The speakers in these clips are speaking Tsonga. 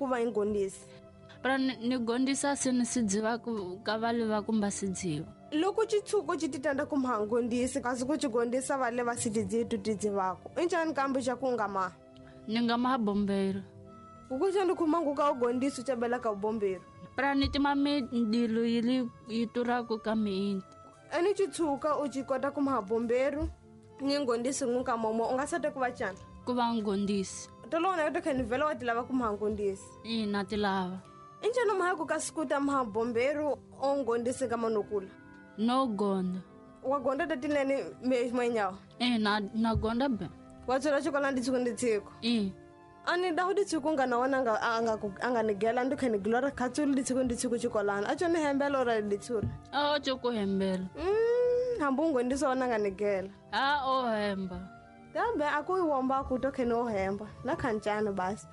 ku va ingondisi? Pra ni gondisa se ni si dziva ku ka vale va kumba si dziva. Loko xitshuko xi titanda ku mhangondisi kasi ku xi gondisa vale va si tidzivi tu tidzivako i njhani kambe xa ku nga ma? Ni nga ma bombero. Kukuxa ni khuma nguka u gondisi u cabela ka bombero. Pra ni tima mindilo yi yi turako ka miinti. Eni xitshuka u xi kota ku maha bomberu ni ngondisi ngunka momo u nga sata ku va cana? Ku va ngondisi. Tolona yo tokhe ni vhela wa ti lava ku maha ngondisi. Ina ti lava. I njhani maha ku ka sikuta maha bomberu o ngondisi ka manokula? No gonda. Wa gonda ta tinene me manyawo? Ina na gonda be. Wa tswela xikolani nditshiko nditshiko? I. A ni da ku ditshiko ngana wena a nga ni gela ndi kha ni glora khatsulu ditshiko nditshiko xikolani a tsho ni hembela ora ditshura? A tsho ku hembela. Hambi u ngondisa wena nga ni gela. A o hemba. Kambe a ku womba ku to khe ni o hemba na khancana basi.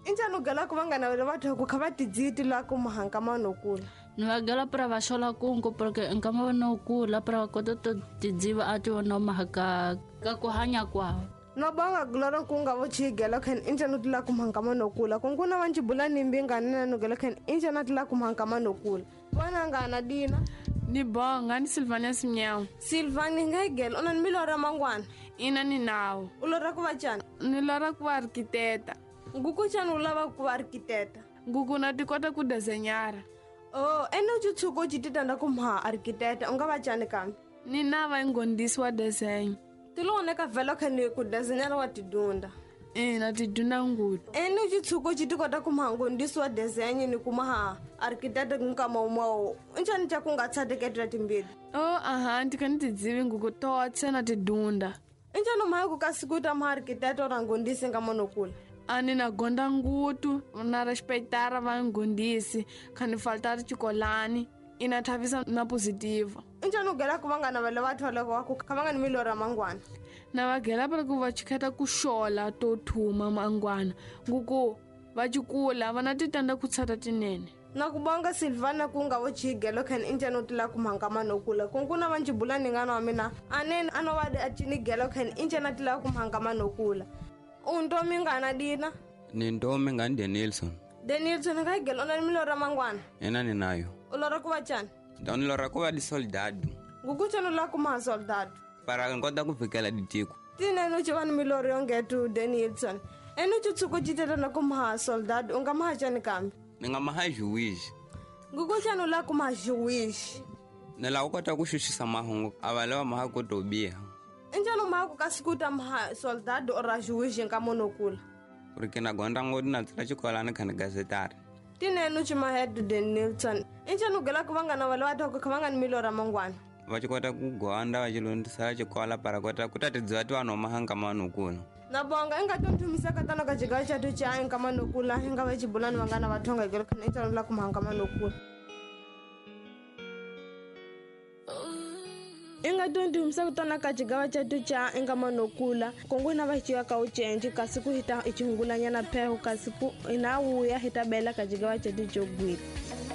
I njhani u gela ku va nga navela va ku kha va tidziti la ku mahanka manokula? Ni va gela pra va xola kungu porque nkama va nokula pra va kota to tidziva a ti vona mahaka ka ku hanya kwawo. No bonga glora ku nga vo chigela khan i njhani u tila ku mahanka manokula ku nguna va ncibula ni mbinga ni na gela khan i njhani a tila ku mahanka manokula. Vona ngana dina. Ni bonga ni Silvania Simnyawo. Silvania nga gela una ni milora mangwana? Ina ni nawo. U lora ku va cana? Ni lora ku va architecta. Nguku cana u lava ku va architecta? Nguku na ti kota ku desenyara. Oh, ene u tshuko u titanda ku mha architecta u nga va cani kambe? Ni na va ngondisi wa design. Ti lo ka vhela kha ni ku desenyara wa tidunda. Ina tidunda ngutu. Ene u tshuko u ti kota ku mha ngondisi wa design ni ku mha architecta nkama umao. Njhani xa ku nga tshateketela timbili? Oh, aha, ndi kha ni tidzivi nguku totse na tidunda. Njhani mha ku ka sikuta mha architecta ora ngondisi nga monokula? A ni na gonda ngutu na respectara va ngondisi kha ni faltara xikolani ina thavisa na positiva. Njhani u gela ku va nga navela va tholeko wa ku kha va nga ni milora mangwana? Na va gela pa ku va chikheta ku xola to thuma mangwana nguku va chikula va na titanda ku tshata tinene. Na ku bonga Silvana ku nga vo chigelo khan i njhani u tila ku mhanga manokula ku nguna va ncibula ni ngana wa mina anene a no va a cini gelo khan i njhani a tila ku mhanga manokula. U ntomi ngana dina? Ni ntomi ngani Denilson. Denilson nga gelo na milora mangwana? Ena ni nayo. U lora ku va cana? Ndani lora ku va di soldado. Nguku cana la ku ma soldado? Para nkota ku fikela ditiko. Tinene u ci va ni miloro yongetu Denilson. Ene u tshuko citela na ku ma soldado u nga ma cani kambe? Ni nga ma juiz. Nguku cana la ku ma juiz? Ni la ku kota ku xuxisa mahungu a va lava ma ku to biha. Njhani ma ku ka sikuta ma soldado ora juiz nka monokula? Porque na gonda ngodi na tsela xikolani kha ni gazetari. Tinene u ci ma head Denilson. Njhani u gela ku va nga na vale va ku kha va nga ni milora mangwana? Va ci kota ku gonda va ci londisa xikola para kota ku ta tidziva ti vanhu mahanga manokula. Na bonga i nga to nthumisa ka tano ka jiga xa to cha nka manokula i nga va xibulani va nga na vathonga gelo kha ni la ku mahanga manokula. I nga to nthumisa ku tona ka jiga xa to cha nka manokula kongo na va xiya ka u cenji kasi ku hita i chihungulanyana pheho kasi ku ina wuya hita bela ka jiga xa to jogwile.